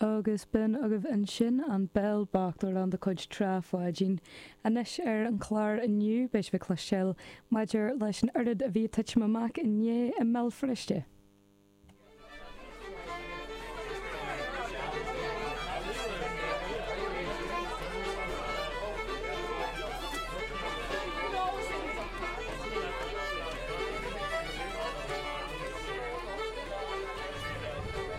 Agus b'in agaibh ansin An Béal Bocht, amhrán de chuid Trá Pháidín. Anois ar an chlár inniu, beidh sibh ag cloisteáil maidir leis an oiread a bhí ag titim amach inné i mBéal Feirste.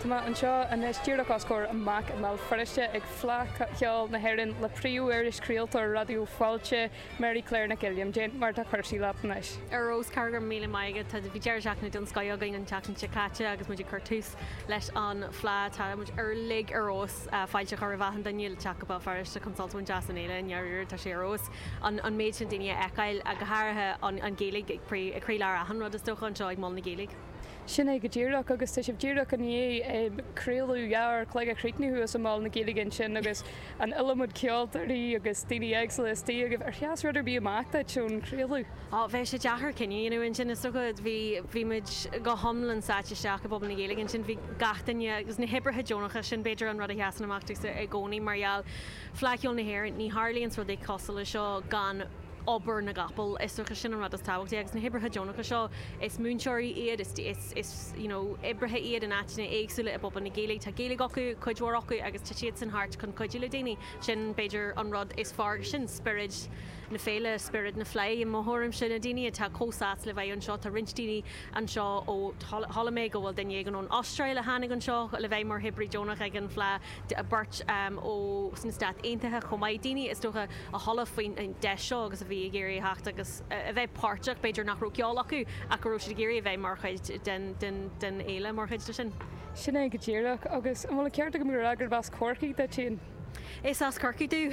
Tá mé anseo anois díreach os comhair amach i mBéal Feirste ag Fleadh Cheoil na hÉireann le príomh-irischraoltóir Raidió Fáilte, Mary Claire Nic Uilliam. Cad é mar atá cúrsaí leat anois. Ar fheabhas, Cara, go raibh míle maith agat. Tá, bhí deireadh seachtaine den scoith againn an tseachtain seo caite agus muid ag cur tús leis an Fleadh. Tá muid uilig ar fheabhas. Fáilte a chur roimh achan duine le teacht go Béal Feirste chun sult a bhaint as an fhéile i ndáiríre. Tá sé ar fheabhas an méid sin daoine a fheiceáil, go háirithe an Ghaeilge ag croílár achan rud is dócha anseo ag Mol na Gaeilge. Sin é go díreach, agus tá sibh díreach i ndiaidh craoladh 2 uair an chloig a chríochnú thuas i Mol na Gaeilge ansin agus an iliomad ceoltóirí agus daoine éagsúla istigh agaibh. Ar sheas rud ar bith amach duit ón chraoladh? Ó, bheadh sé deacair cinneadh a dhéanamh ansin, is dócha. Bhí, bhí muid go hiomlán sáite isteach i bpobal na Gaeilge ansin. Bhí gach duine, agus na hoibrithe deonacha, sin b'fhéidir an rud a sheasann amach domhsa i gcónaí mar gheall, Fleadh Cheoil na hÉireann, ní tharlaíonn rudaí cosúil leis seo gan obair na gcapall, is dócha, sin an rud is tábhachtaí agus na hoibrithe deonacha seo, is múinteoirí iad, is, is, is, you know, oibrithe iad in áiteanna éagsúla i bpobal na Gaeilge, tá Gaeilge acu, cuid mhór acu agus tá siadsan thart chun cuidiú le daoine, sin b'fhéidir an rud is fearr, sin spiorad na féile, spiorad na Fleidhe i mo thuairimse, na daoine atá chomh sásta le bheith anseo, tá roinnt daoine anseo ó, chuala mé go bhfuil duine éigin ón Astráil a tháinig anseo le bheith mar oibrí deonach ag an Fleadh, beirt ó sna Stáit Aontaithe chomh maith, daoine is dócha a chuala faoin deis seo agus a bhí ag iarraidh a theacht agus a bheith páirteach, b'fhéidir nach raibh ceol acu ach go raibh siad ag iarraidh a bheith mar chuid den fhéile, mar chuid de sin. Sin é go díreach. Agus an bhfuil an ceart agam a rá gurb as Corcaigh duit féin? Is as Corcaigh domh.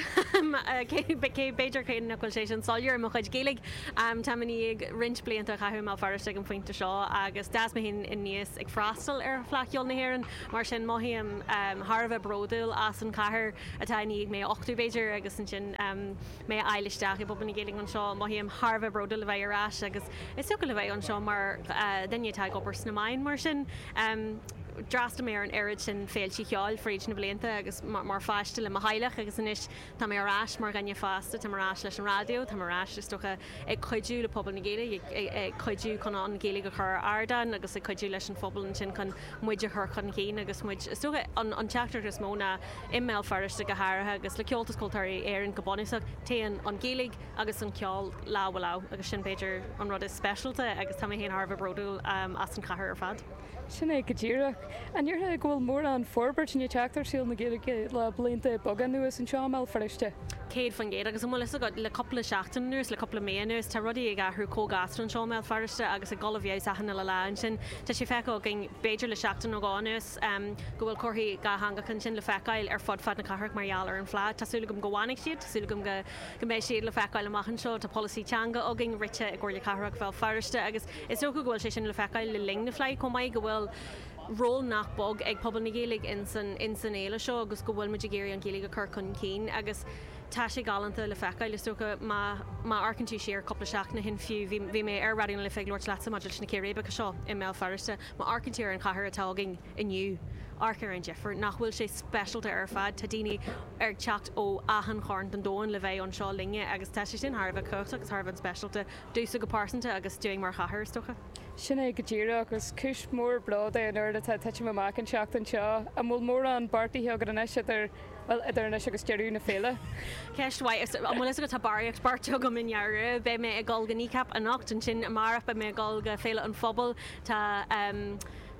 Cé, b'fhéidir cé nach bhfuil sé sin soiléir i mo chuid Gaeilge. Táim i ndiaidh roinnt blianta a chaitheamh i mBéal Feirste ag an phointe seo agus d'fhás mé féin aníos ag freastal ar Fleadh Cheoil na hÉireann. Mar sin, mothaím thar a bheith bródúil as an chathair atá i ndiaidh mé a uchtú, b'fhéidir, agus ansin mé a fháil isteach i bpobal na Gaeilge anseo. Mothaím thar a bheith bródúil a bheith ar ais agus is dócha le bheith anseo mar dhuine atá ag obair sna meáin mar sin. D'fhreastail mé ar an oiread sin féiltí cheoil fríd na blianta agus mar pháiste le mo theaghlach agus anois tá mé ar ais mar dhuine fásta, táim ar ais leis an raidió, táim ar ais is dócha ag cuidiú le pobal na Gaeilge, ag cuidiú chun an Ghaeilge a chur ar ardán agus ag cuidiú leis an phobal ansin chun muid a chur chun cinn agus muid, is dócha, an teachtaireacht is mó ná i mBéal Feirste go háirithe agus le Comhaltas Ceoltóirí Éireann go bunúsach, téann an Ghaeilge agus an ceol lámh i lámh agus sin b'fhéidir an rud is speisialta agus tá mé féin thar a bheith bródúil as an chathair ar fad. Sin é go díreach. An ndéarfá go bhfuil mórán forbairt i ndiaidh teacht ar saol na Gaeilge le blianta beaga anuas anseo i mBéal Feirste? 100% agus an bhfuil fhios agat, le cúpla seachtain anuas, le cúpla mí anuas, tá rudaí ag athrú chomh gasta anseo i mBéal Feirste agus ag dul i bhfeabhas achan uile lá ansin. Tá sé feicthe againn, b'fhéidir le seachtain nó dhó anuas, go bhfuil comharthaí dátheangacha ansin le feiceáil ar fud fad na cathrach mar gheall ar an Fleadh. Tá súil agam go bhfanfaidh siad, tá súil agam go go mbeidh siad le feiceáil amach anseo. Tá polasaí teanga againn rite i gComhairle Cathrach Bhéal Feirste agus is dócha go bhfuil sé sin le feiceáil le linn na Fleidhe chomh maith, go bhfuil ról nach beag ag pobal na Gaeilge ins an fhéile seo agus go bhfuil muid ag iarraidh an Ghaeilge a chur chun cinn agus tá sé galánta le feiceáil. Is dócha má má amharcann tú siar cúpla seachtain ó shin fiú, bhí bhí mé ar Raidió na Life ag labhairt leatsa maidir leis na círéibeacha seo i mBéal Feirste, má amharcann tú ar an chathair atá againn inniu, amharc ar an difear, nach bhfuil sé speisialta ar fad? Tá daoine ag teacht ó achan chorn den domhan le bheith anseo linne agus tá sé sin thar a bheith cumhachtach agus thar a bheith speisialta domhsa go pearsanta agus dúinn mar chathair, is dócha. Sin é go díreach, agus cúis mhór bróid é an oiread atá ag titim amach an tseachtain seo. An bhfuil mórán beartaithe agat anois idir, bhuel, idir anois agus deireadh na féile? Ceist mhaith. An bhfuil fhios agat, tá barraíocht beartaithe agam i ndáiríre. Beidh mé ag dul go Kneecap anocht, ansin amárach beidh mé ag dul go Féile an Phobail. Tá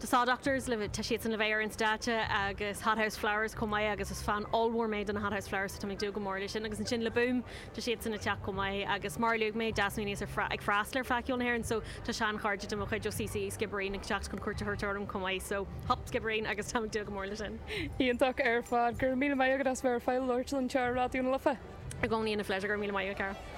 Tá Saw Doctors le, tá siadsan le bheith ar an stáitse agus Hothouse Flowers chomh maith agus is fan ollmhór mé de na Hothouse Flowers so tá mé ag dúil go mór leis sin. Agus ansin Le Boom, Tá siadsan ag teacht chomh maith agus mar a luaigh mé, d'fhás mé aníos ar ag freastal ar Fleadh Cheoil na hÉireann so tá sean-chairde de mo chuid ó CCE Skibbereen ag teacht chun cuairt a thabhairt orm chomh maith so hup Skibbereen agus táim ag dúil go mór leis sin. Iontach ar fad. Go raibh míle maith agat as bheith ar fáil labhairt linn anseo ar Raidió na Life. I gcónaí ina phléisiúr, go raibh míle maith agat, Cara.